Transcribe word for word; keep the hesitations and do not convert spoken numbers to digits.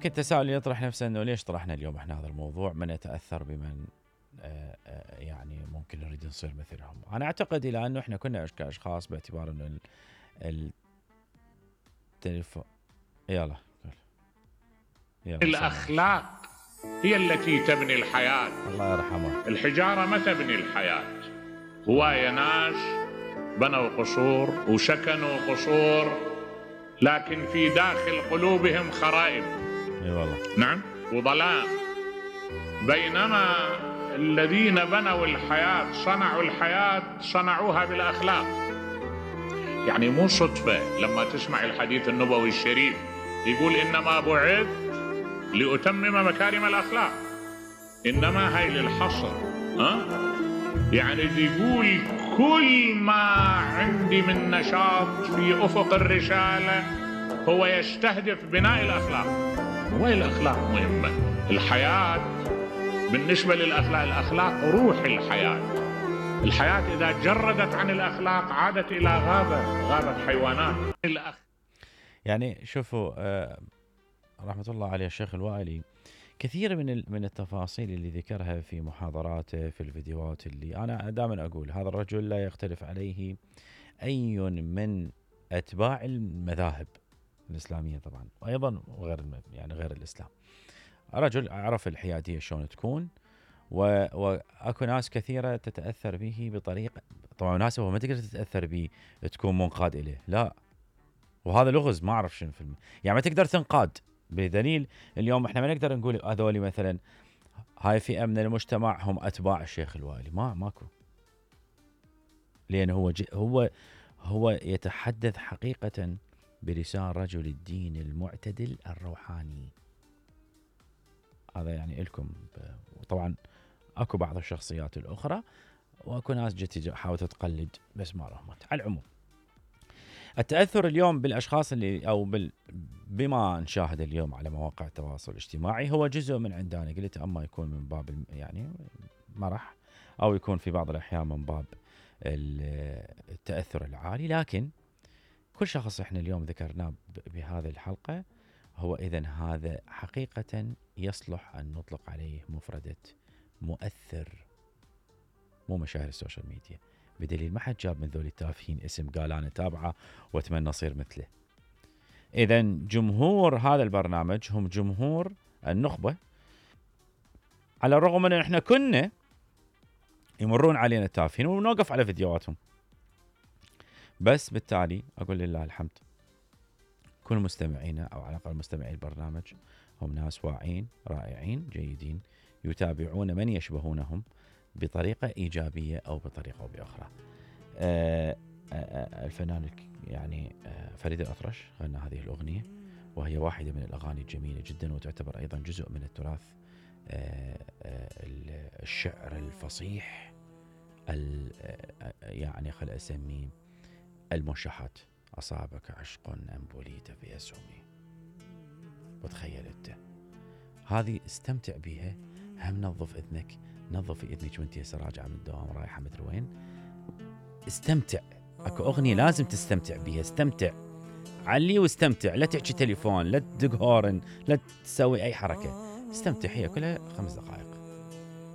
يمكن تساؤل يطرح نفسه انه ليش طرحنا اليوم احنا هذا الموضوع، من يتاثر بمن آآ آآ يعني ممكن نريد نصير مثلهم. انا اعتقد الى انه احنا كنا كاشخاص باعتبار انه التليفون يلا يلا الاخلاق هي التي تبني الحياه. الله يرحمه. الحجاره ما تبني الحياه. هوايه ناس بنوا قصور وسكنوا قصور، لكن في داخل قلوبهم خرائب. اي والله. نعم، وظلام. بينما الذين بنوا الحياة صنعوا الحياة صنعوها بالأخلاق. يعني مو صدفة لما تسمع الحديث النبوي الشريف يقول إنما بعثت لأتمم مكارم الأخلاق. إنما هاي للحصر. ها؟ يعني يقول كل ما عندي من نشاط في أفق الرسالة هو يستهدف بناء الأخلاق. وين الأخلاق مهمة؟ الحياة بالنسبة للأخلاق، الأخلاق روح الحياة. الحياة إذا جردت عن الأخلاق عادت إلى غابة، غابة حيوانات. الأخ... يعني شوفوا آه رحمة الله عليه الشيخ الوائلي، كثير من من التفاصيل اللي ذكرها في محاضراته في الفيديوهات، اللي أنا دائما أقول هذا الرجل لا يختلف عليه أي من أتباع المذاهب الإسلامية طبعا، وأيضا غير يعني غير الإسلام. رجل عرف الحيادية شلون تكون، واكو ناس كثيرة تتأثر به بطريقة، طبعا ناس هو ما تقدر تتأثر به تكون منقاد إليه، لا، وهذا لغز ما أعرف شنو فيلم، يعني ما تقدر تنقاد. بدليل اليوم احنا ما نقدر نقول هذول مثلا هاي فئة من المجتمع هم أتباع الشيخ الوائلي، ما ماكو، لأن هو هو هو يتحدث حقيقة بلسان رجل الدين المعتدل الروحاني. هذا يعني لكم. وطبعا اكو بعض الشخصيات الاخرى واكو ناس جت حاولت تقلد بس ما رحمت. على العموم التاثر اليوم بالاشخاص اللي او بال بما نشاهد اليوم على مواقع التواصل الاجتماعي هو جزء من عندنا، قلت اما يكون من باب يعني مرح او يكون في بعض الاحيان من باب التاثر العالي، لكن كل شخص احنا اليوم ذكرناه بهذه الحلقه هو إذن هذا حقيقة يصلح أن نطلق عليه مفردة مؤثر، مو مشاهير السوشيال ميديا. بدليل ما حد جاب من ذولي التافهين اسم قال أنا تابعه وأتمنى أصير مثله. إذن جمهور هذا البرنامج هم جمهور النخبة، على الرغم من أن إحنا كنا يمرون علينا التافهين ونوقف على فيديوهاتهم، بس بالتالي أقول لله الحمد كل مستمعينا أو على الأقل مستمعي البرنامج هم ناس واعين رائعين جيدين يتابعون من يشبهونهم بطريقة إيجابية أو بطريقة أو بأخرى. آآ آآ الفنان يعني فريد الأطرش غنى هذه الأغنية، وهي واحدة من الأغاني الجميلة جدا، وتعتبر أيضا جزء من التراث الشعر الفصيح يعني خل أسميه الموشحات. أصابك عشق أم بليت في أسهمي، وتخيل أنت هذه استمتع بها، هم نظف إذنك، نظف إذنك وانت هسه راجعة من الدوام رايحة مدري وين، استمتع. أكو أغنية لازم تستمتع بها، استمتع علي واستمتع، لا تحكي تليفون، لا تدق هورن، لا تسوي أي حركة، استمتع، هي كلها خمس دقائق.